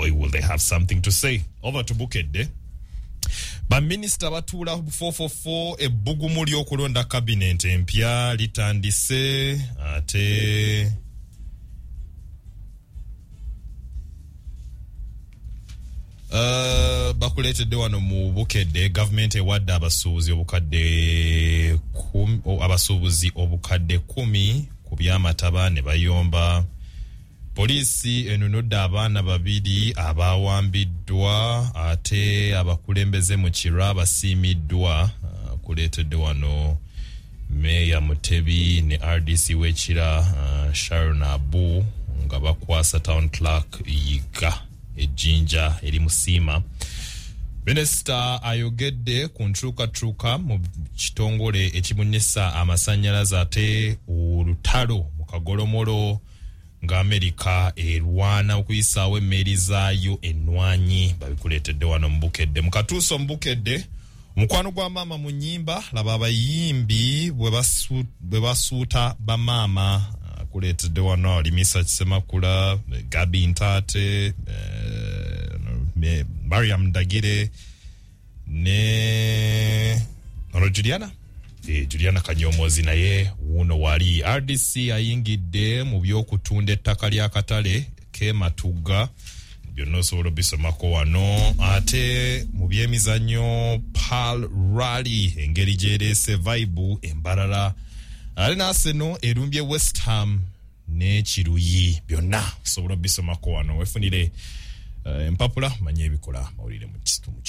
Boy, will they have something to say. Over to Bukedde. Baminisita batuula 444, ebbugumu ly'okulonda kabinenti empya litandise. Ate bakuleetedde wano mu Bukedde, gavumenti ewadde abasuubuzi obukadde abasuubuzi 10,000 ku by'amataba ne bayomba. Poliisi enunudde abaana babiri abawambiddwa, ate abakulembeze mu Kira basiimiddwa. Kuleetedde wano Meeya Mutebi ne RDC w'Ekira Sharon Abu nga bakwasa Town Clerk Yiga ejjinja erimusiima. Minisita ayogedde ku nkyukakyuka mu kitongole ekibunyisa amasannyalaze, ate olutalo mu kagolomolo nga Amerika erwana okuyisaawo emmeeri zaayo ennwanyi. Babikuleetedde wano mu Bukedde. Mu katuuso mu Bukedde, omukwano gwa maama mu nnyimba, laba abayimbi bwe basuuta bamaama. Kuleetedde wano Limisa Kisemakula, Gabi Ntate, Mariam Ndagire ne ono Juliana, Juliana Kanyomozi naye wuuno wali. RDC ayingidde mu by'okutunda ettaka ly'akatale k'e Matugga. Byonna osobola obisomako wano. Ate mu byemizannyo, Pearl Rally engeri gy'ereese vibe embalala, ate n'Arsenal erumbye West Ham n'ekiruyi. Byonna osobola obisomako wano. Wefunire empapula manye ebikola mawulire mu kitundu.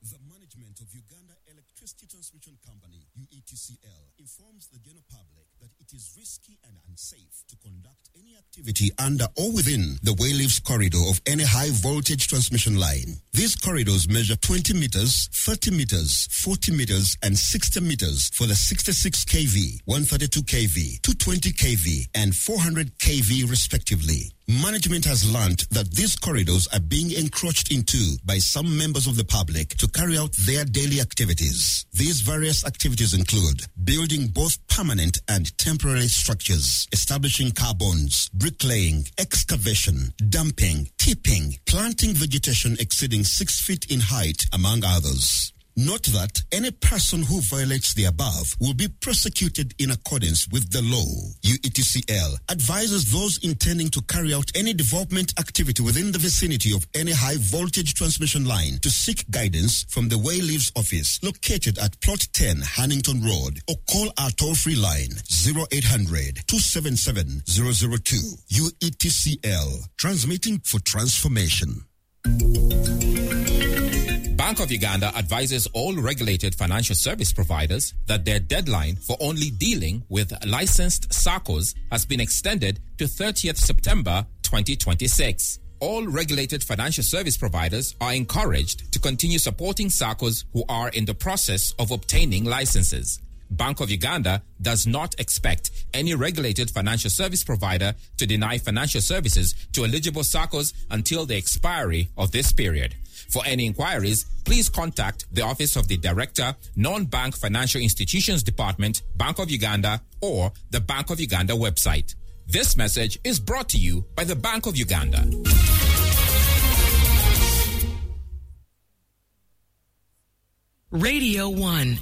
The management of Uganda Electricity Transmission Company, UETCL, informs the general public that it is risky and unsafe to conduct any activity under or within the wayleaves corridor of any high voltage transmission line. These corridors measure 20 meters, 30 meters, 40 meters, and 60 meters for the 66 kV, 132 kV, 220 kV, and 400 kV respectively. Management has learnt that these corridors are being encroached into by some members of the public to carry out their daily activities. These various activities include building both permanent and temporary structures, establishing carbons, bricklaying, excavation, dumping, tipping, planting vegetation exceeding 6 feet in height, among others. Note that any person who violates the above will be prosecuted in accordance with the law. UETCL advises those intending to carry out any development activity within the vicinity of any high voltage transmission line to seek guidance from the Wayleaves office located at Plot 10 Hannington Road or call our toll free line 0800 277 002. UETCL, transmitting for transformation. Bank of Uganda advises all regulated financial service providers that their deadline for only dealing with licensed SACCOs has been extended to 30th September 2026. All regulated financial service providers are encouraged to continue supporting SACCOs who are in the process of obtaining licenses. Bank of Uganda does not expect any regulated financial service provider to deny financial services to eligible SACCOs until the expiry of this period. For any inquiries, please contact the Office of the Director, Non-Bank Financial Institutions Department, Bank of Uganda, or the Bank of Uganda website. This message is brought to you by the Bank of Uganda. Radio 1.